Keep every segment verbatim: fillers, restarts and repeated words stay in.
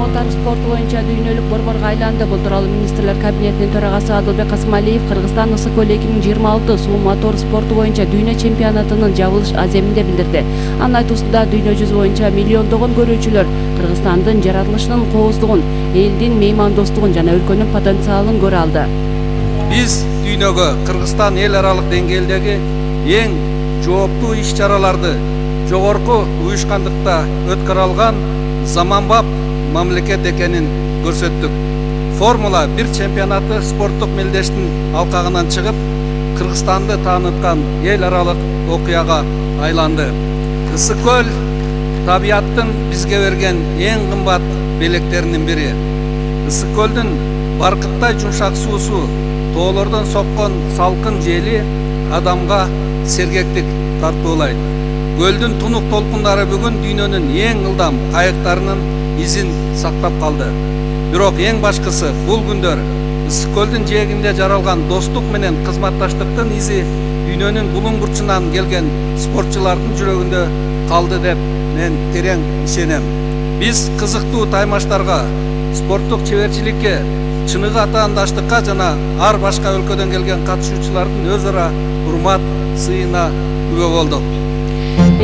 мотор спорту боюнча дүйнөлүк борборго айланды. Бул тууралуу министрлер кабинетинин төрагасы Адылбек Касымалиев Кыргызстан ысыкөл эки миң жыйырма алты суу мотор спорту боюнча дүйнө чемпионатынын жабылыш аземинде билдирди. Анын айтуусунда дүйнө жүзү боюнча миллиондогон көрүүчүлөр Кыргызстандын жаратылышынын кооздугун, элдин меймандостугун жана өлкөнүн потенциалын көрө алды. Биз дүйнөгө Кыргызстан эл аралык деңгээлдеги эң жооптуу иш-чараларды жогорку уюшкандыкта өткөрө алган заманбап мамлекет экенин көрсөттүк. Формула бир чемпионаты спорттук мелдештин алкагынан чыгып, Кыргызстанды тааныткан эл аралык окуяга айланды. Ысыкөл табияттын бизге берген эң кымбат белектеринин бири. Ысыкөлдүн баркыттай жумшак суусу, тоолордон соккон салкын жели адамга сергектик тартуулайт. Көлдүн тунук толкундары бүгүн дүйнөнүн эң ылдам кайыктарынын изин сактап калды. Бирок эң башкысы бул күндөр Ысыкөлдүн жээгинде жаралган достук менен кызматташтыктын изи дүйнөнүн булуң бурчунан келген спортчулардын жүрөгүндө калды деп мен терең ишенем. Биз кызыктуу таймаштарга, спорттук чеберчиликке, чыныгы атаандаштыкка жана ар башка өлкөдөн келген катышуучулардын өз ара урмат сыйына күбө болдук.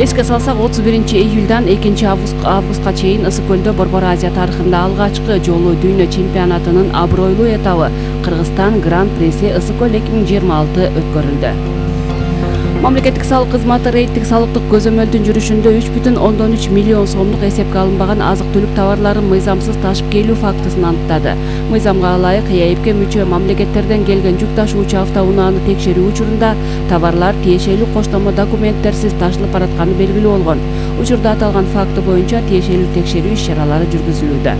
Эске салсак, отуз биринчи июлдан экинчи августка чейин Ысыкөлдө Борбор Азия тарыхында алгачкы жолу дүйнө чемпионатынын абройлуу этабы Кыргызстан Гран-приси Ысыкөл эки миң жыйырма алты өткөрүлдү. Мамлекеттик салык кызматы рейдтик салыктык көзөмөлдүн жүрүшүндө үч бүтүн ондон үч миллион сомдук эсепке алынбаган азык-түлүк товарларын мыйзамсыз ташып келүү фактысын аныктады. Мыйзамга ылайык ЭАИПке мүчө мамлекеттерден келген жүк ташуучу автоунааны текшерүү учурунда товарлар тиешелүү коштомо документтерсиз ташылып баратканы белгилүү болгон. Учурда аталган факты боюнча тиешелүү текшерүү иш-чаралары жүргүзүлүүдө.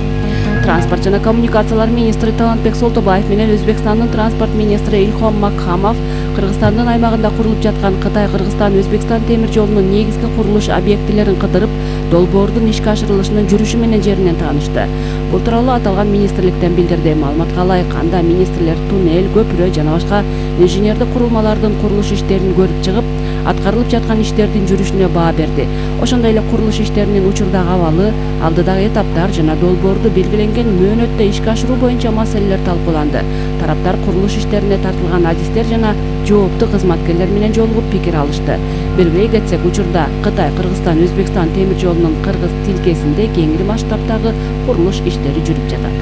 Транспорт жана коммуникациялар министри Талантбек Солтобаев менен Өзбекстандын транспорт министри Илхом Макхамов Кыргызстандын аймагында курулуп жаткан Кытай-Кыргызстан-Өзбекстан темир жолунун негизги курулуш объектилерин кыдырып, долбоордун ишке ашырылышынын жүрүшү менен жеринен таанышты. Бул тууралуу аталган министрликтен билдирди. Маалыматка ылайык, анда министрлер туннель, көпүрө жана башка инженердик курулмалардын курулуш иштерин көрүп чыгып, аткарылып жаткан иштердин жүрүшүнө баа берди. Ошондой эле курулуш иштеринин учурдагы абалы, алдыдагы этаптар жана долбоорду белгиленген мөөнөттө ишке ашыруу боюнча маселелер талкууланды. Тараптар курулуш иштерине тартылган адистер жана жооптуу кызматкерлер менен жолугуп пикир алышты. Белгилей кетсек, учурда Кытай-Кыргызстан-Өзбекстан темир жолунун кыргыз тилкесинде кеңири масштабтагы курулуш иштери жүрүп жатат.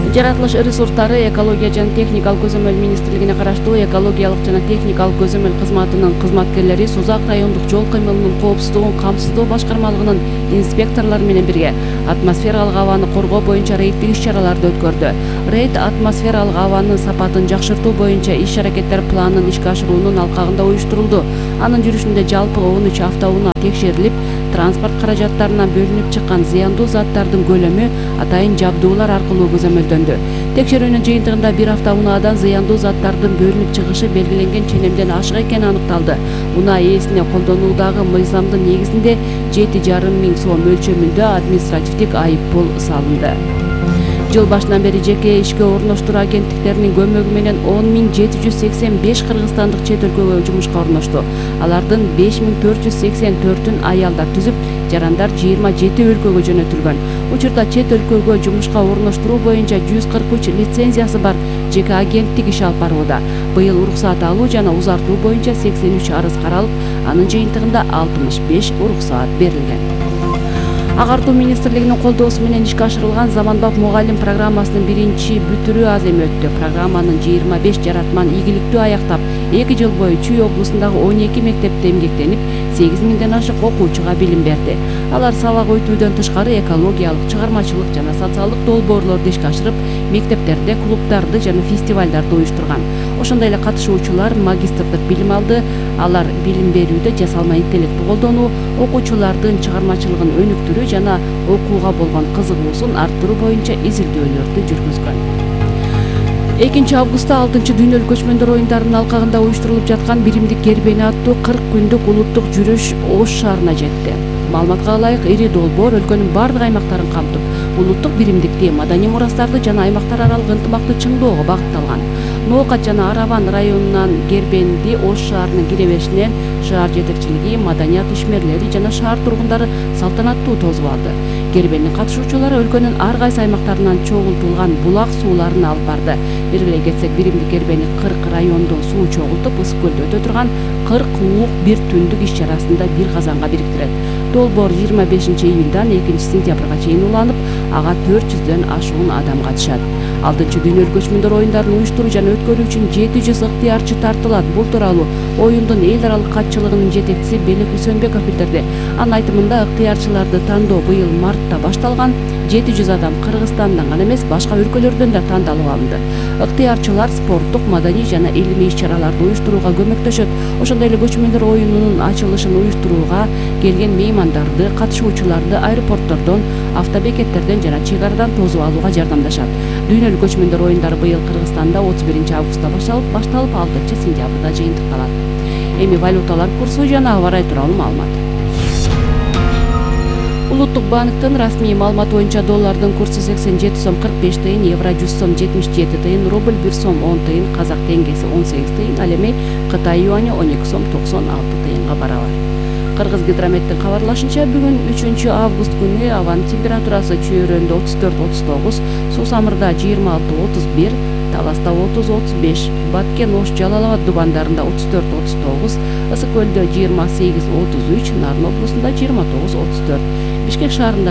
Жаратылыш ресурстары, экология жана техникалык көзөмөл министрлигине караштуу экологиялык жана техникалык көзөмөл кызматынын кызматкерлери Сузак райондук жол кыймылынын коопсуздугун камсыздоо башкармалыгынын инспекторлору менен бирге атмосфералык абаны коргоо боюнча рейдтик иш-чараларды өткөрдү. Рейд атмосфералык абанын сапатын жакшыртуу боюнча иш-аракеттер планын ишке ашыруунун алкагында уюштурулду. Анын жүрүшүндө жалпы он үч автоунаа текшерилип, транспорт каражаттарынан бөлүнүп чыккан зыяндуу заттардын көлөмү атайын жабдуулар аркылуу көзөмөлдөндү. Текшерүүнүн жыйынтыгында бир автоунаадан зыяндуу заттардын бөлүнүп чыгышы белгиленген ченемден ашык экени аныкталды. Унаа ээсине колдонуудагы мыйзамдын негизинде жети жарым миң сом мөлчөмүндө административдик айыппул салынды. Жыл башынан бери жеке ишке орноштуруу агенттиктеринин көмөгү менен он миң жети жүз сексен беш кыргызстандык чет өлкөгө жумушка орношту. Алардын беш миң төрт жүз сексен төртүн аялдар түзүп, жарандар жыйырма жети өлкөгө жөнөтүлгөн. Учурда чет өлкөгө жумушка орноштуруу боюнча жүз кырк үч лицензиясы бар жеке агенттик иш алып барууда. Быйыл уруксаат алуу жана узартуу боюнча сексен үч арыз каралып, анын жыйынтыгында алтымыш беш уруксаат берилген. Агартуу министрлигинин колдоосу менен ишке ашырылган заманбап мугалим программасынын биринчи бүтүрүү аземи өттү. Программанын жыйырма беш жаратман ийгиликтүү аяктап, эки жыл бою Чүй облусундагы он эки мектепте эмгектенип, сегиз миңден ашык окуучуга билим берди. Алар сабак өтүүдөн тышкары экологиялык, чыгармачылык жана социалдык долбоорлорду ишке ашырып, мектептерде клубдарды жана фестивалдарды уюштурган. Ошондой эле катышуучулар магистрдык билим алды. Алар билим берүүдө жасалма интеллектти колдонуу, окуучулардын чыгармачылыгын өнүктүрүү жана окууга болгон кызыгуусун арттыруу боюнча изилдөөлөрдү жүргүзгөн. экинчи августта алтынчы дүйнөлүк көчмөндөр оюндарынын алкагында уюштурулуп жаткан биримдик кербени аттуу кырк күндүк улуттук жүрүш Ош шаарына жетти. Маалыматка ылайык, ири долбоор өлкөнүн бардык аймактарын камтып, улуттук биримдикти, маданий мурастарды жана аймактар аралык ынтымакты чыңдоого багытталган. Ноокат жана Араван районунан Гербенди Ош шаарынын кире беришинен шаар жетекчилиги, маданият ишмерлери жана шаар тургундары салтанаттуу тосуп алды. Гербендин катышуучулары өлкөнүн ар кайсы аймактарынан чогултулган булак сууларын алып барды. Белгилей кетсек, биримдик Гербени кырк райондон суу чогултуп, ысык көлдө өтө турган кырк уук бир түндүк иш чарасында бир казанга бириктирет. Долбоор жыйырма бешинчи июлдан экинчи сентябрга чейин уланып, ага төрт жүздөн ашуун адам катышат. Алтынчы дүйнөлүк көчмөндөр оюндарын уюштуруу жана өткөрүү үчүн жети жүз ыктыярчы тартылат. Бул тууралуу оюндун эл аралык катчылыгынын жетекчиси Белек Үсөнбеков билдирди. Анын айтымында, ыктыярчыларды тандоо быйыл мартта башталган. жети жүз адам Кыргызстандан гана эмес, башка өлкөлөрдөн да тандалып алынды. Ыктыярчылар спорттук, маданий жана илимий иш-чараларды уюштурууга көмөктөшөт. Ошондой эле көчмөндөр оюнунун ачылышын уюштурууга келген меймандарды, катышуучуларды аэропорттордон, автобекеттерден жана чек арадан тосуп алууга жардамдашат. Дүйнөлүк көчмөндөр оюндары быйыл Кыргызстанда отуз биринчи августта башталып, башталып алтынчы сентябрда жыйынтыкталат. Эми валюталар курсу жана аба ырайы тууралуу маалымат. Улуттук банктын расмий маалыматы боюнча доллардын курсу сексен жети сом кырк беш тыйын, евро жүз сом жетимиш жети тыйын, рубль бир сом он тыйын, казак теңгеси он сегиз тыйын, ал эми Кытай юаньы он эки сом токсон алты тыйынга барабар. Кыргыз гидрометтин кабарлашынча, бүгүн үчүнчү август күнү абанын температурасы Чөйрөндө отуз төрт отуз тогуз, Сусамырда жыйырма алты отуз бир, Таласта отуз отуз беш, Баткен, Ош, Жалал Абад дубандарында отуз төрт отуз тогуз, Ысык көлдө жыйырма сегиз отуз үч, Нарын облусунда жыйырма тогуз отуз төрт, Бишкек шаарында